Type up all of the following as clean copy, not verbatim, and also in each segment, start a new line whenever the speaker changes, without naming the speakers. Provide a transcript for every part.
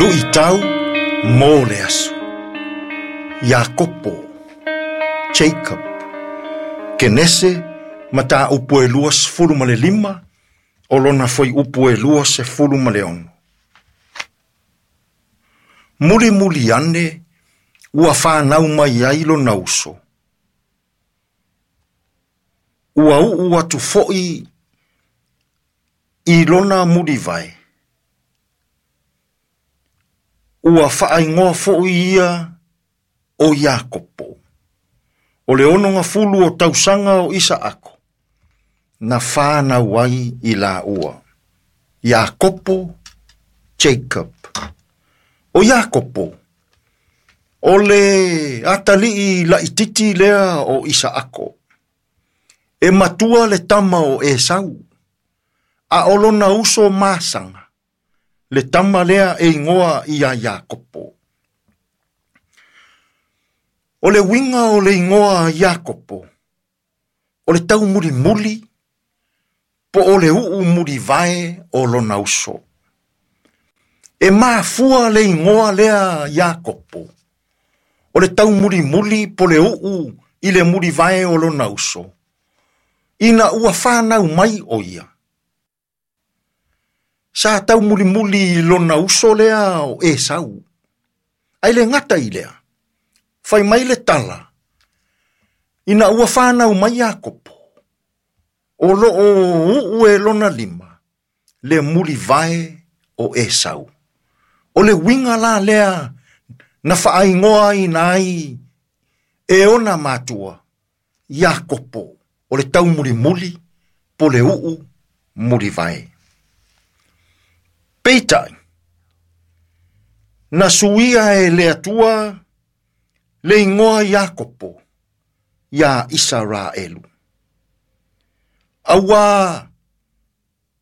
Luʻitau mo le aso. Iakopo, Jacob. Kenese, mataupu e 25, o lona fuaiupu e 26. Mulimuli ane, ua fanau mai ai lona uso. Ua uu atu foʻi i lona mulivae. Ua faaigoa foʻi ia o Iakopo. O le 60 o tausaga o Isaako, na fanau ai i laua. Iakopo, Jacob. O Iakopo, o le atalii laititi lea o Isaako. E matua le tama o Esau, a o lona uso masaga, le tama lea e igoa ia Iakopo. O le uiga o le igoa Iakopo, o le taumulimuli, po o le uu mulivae o lona uso. E mafua le igoa lea Iakopo, o le taumulimuli po le uu i le mulivae o lona uso, ina ua fanau mai o ia. Sa taumulimuli i lona uso lea o Esau. Ai le gata i lea, fai mai le tala, ina ua fanau mai Iakopo, o loo uu e lona lima, le mulivae o Esau. O le uiga la lea na faaigoa ina ai e ona matua, Iakopo, o le taumulimuli, po le uu mulivae. Peitai, na suia e le Atua le igoa Iakopo ia Isaraelu. Aua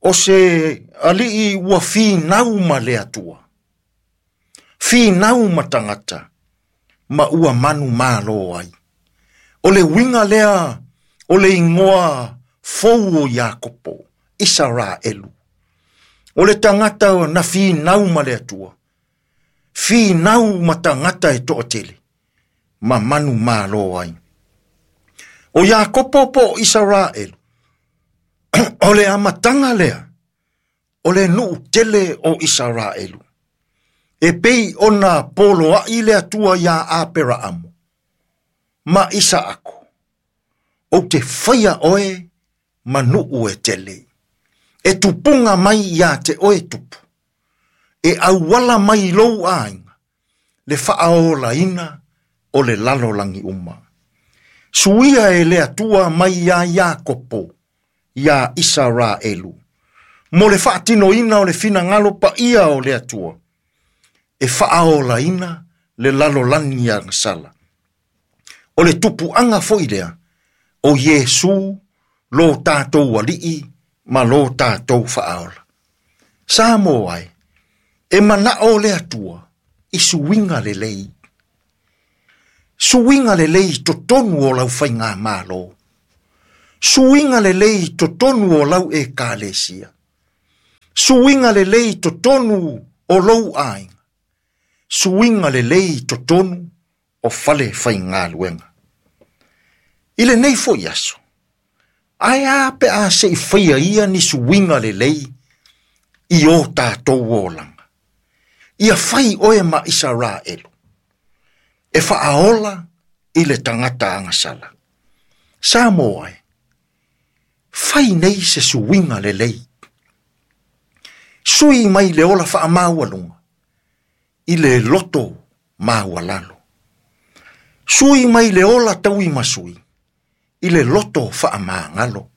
o se alii ua finau ma le Atua, finau ma tagata, ma ua manu malo ai. O le uiga lea o le igoa fou o Iakopo, Isaraelu. O le tagata na finau ma le Atua, finau ma tagata e toatele, ma manu malo ai. O Iakopo po Isaraelu, o le amataga lea, o le nuu tele o Isaraelu. E pei ona poloai le Atua ia Aperaamo, ma Isaako, o te whaia oe ma nuu e tele. E tupunga mai ia te oe tupu, e auala mai lou aiga, le faaolaina o le lalolagi uma. Suia e le Atua mai ia Iakopo, ia Isaraelu, mo le faatinoina o le finagalo paia o le Atua, e faaolaina le lalolagi agasala. O le tupuaga foi lea, o Iesu lo tātou alii ma lo tātou faaola. Sa mo ai, e manao le Atua i suiga lelei. Suiga lelei totonu o lau faigamalo. Suiga lelei totonu o lau ekalesia. Suiga lelei totonu o lou aiga. Suiga lelei totonu o fale faigaluega. I lenei foi aso, ae a pe a se i faia ia ni suiga lelei i o tātou olaga. Ia fai oe ma Isaraelu, e faaola i le tagata agasala. Sa mo ai, fai nei se suiga lelei. Sui mai le ola faamaualuga, i le loto maualalo. Sui mai le ola tauimasui, i le loto faamagalo.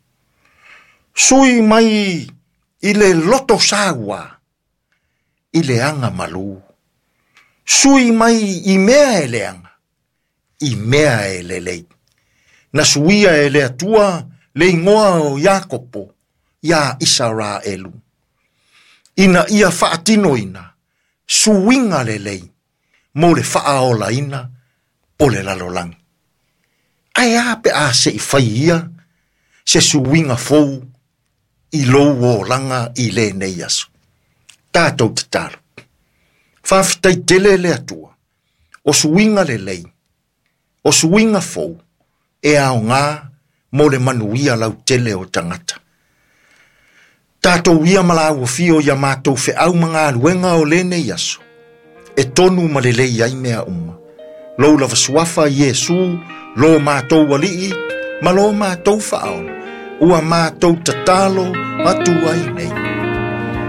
Sui mai i le loto saua, i le aga malu. Sui mai i mea e leaga, i mea e lelei. Na suia e le Atua le igoa o Iakopo ia Isaraelu, ina ia faatinoina suiga lelei mo le faaolaina o le lalolagi. Ae a pe a se i fai ia se suiga fou i lou olaga i lenei aso. Tātou tatalo. Faafetai tele le Atua, o suiga lelei, o suiga fou, e aoga mo le manuia lautele o tagata. Tatou ia ma lauafio ia matou feau ma galuega o lenei aso, e tonu ma lelei ai mea uma. Lou lava suafa Iesu, lo matou alii, ma lo matou faaola, ua matou tatalo atu ai nei.